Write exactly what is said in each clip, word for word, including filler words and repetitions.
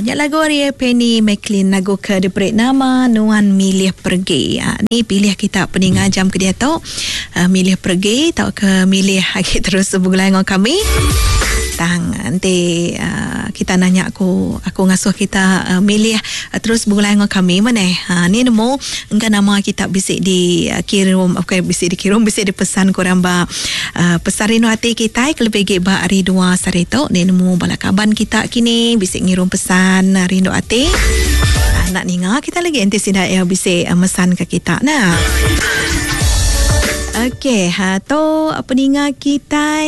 Nya lagu ari Penny McLean, lagu ke diberi nama Nuan Milih Pergi. Ha, ni pilih kita peninga jam ke dia tu. Uh, milih pergi atau ke milih lagi terus begulai dengan kami. Tang nanti uh, kita nanya aku aku ngasuh kita uh, milih uh, terus begulai dengan kami mana. Ha, ni nemu engka nama kita bisik di uh, kirim, okey, bisik dikirim, bisik dipesan kurang ba uh, pesan rindu hati kita kelebih gik ba hari dua sari tu. Ni nemu bala kaban kita kini bisik ngirum pesan uh, rindu hati. Uh, nak ninga kita lagi nanti sida ya bisik uh, mesan ke kita nah. Okey, ha tu peninga kita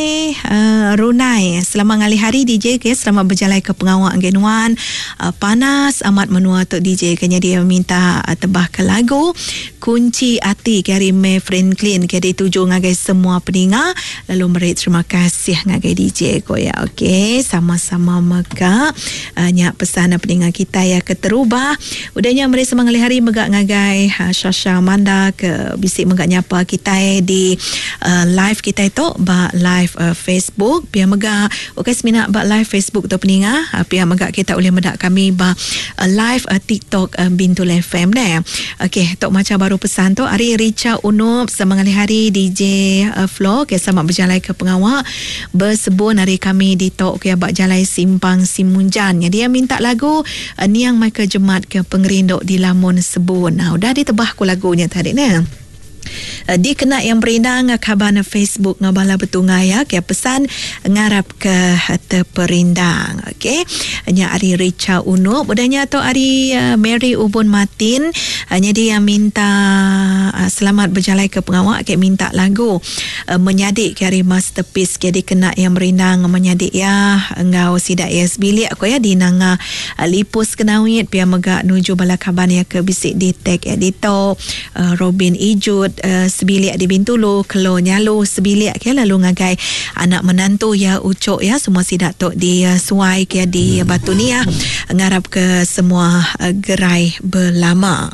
uh, Runai. Selamat ngalih hari D J ke, selamat berjalan ke pengawak genuan. Uh, panas amat menua tu D J, kena dia minta uh, tebah ke lagu Kunci Ati ke hari May Franklin ke dituju ngagai semua peninga. Lalu meri terima kasih ngagai D J ko ya. Okey, sama-sama mega uh, nyak pesan peninga kita ya keterubah. Udahnya meri semangat ngalih hari mega ngagai uh, Shasha Amanda ke bisik mega nyapa kita di uh, live kita itu ba live uh, Facebook pia mega. Okey, semina ba live Facebook tu peninga, uh, pia mega kita boleh medak kami ba uh, live uh, TikTok uh, Bintulu F M deh. Okey, tok macam baru pesan tu hari Richa Unup semangat hari D J uh, Flo ke, selamat berjalan ke pengawak bersebun hari kami di tok ke bak jalai Simpang Simunjan. Jadi dia minta lagu uh, Niang Michael Jemat ke Pengerindu di Lamun Sebun. Nah, udah ditebah ku lagunya tadi ne. Uh, dikena yang berindang kaban Facebook ngabala betungai ya, ke pesan ngarap ke terperindang. Okey, nya ari Richa Unup, udahnya tu ari uh, Mary Ubun Martin, uh, nya dia yang minta uh, selamat berjalan ke pengawak, ke minta lagu uh, menyadik ke ari Masterpiece ke dikena yang berindang menyadik ya ngau sidak ya sebilik ko ya di nanga uh, Lipus Kenawit pia mega nuju bala kaban ya ke bisik di tag editor uh, Robin Ijut Uh, sebilik di Bintulu, Kelo Nyalu sebilik ke, lalu ngagai anak menantu ya Ucok ya, semua sidak tok di uh, Suai ke di Batu Nia, ngarap ke semua uh, gerai belama.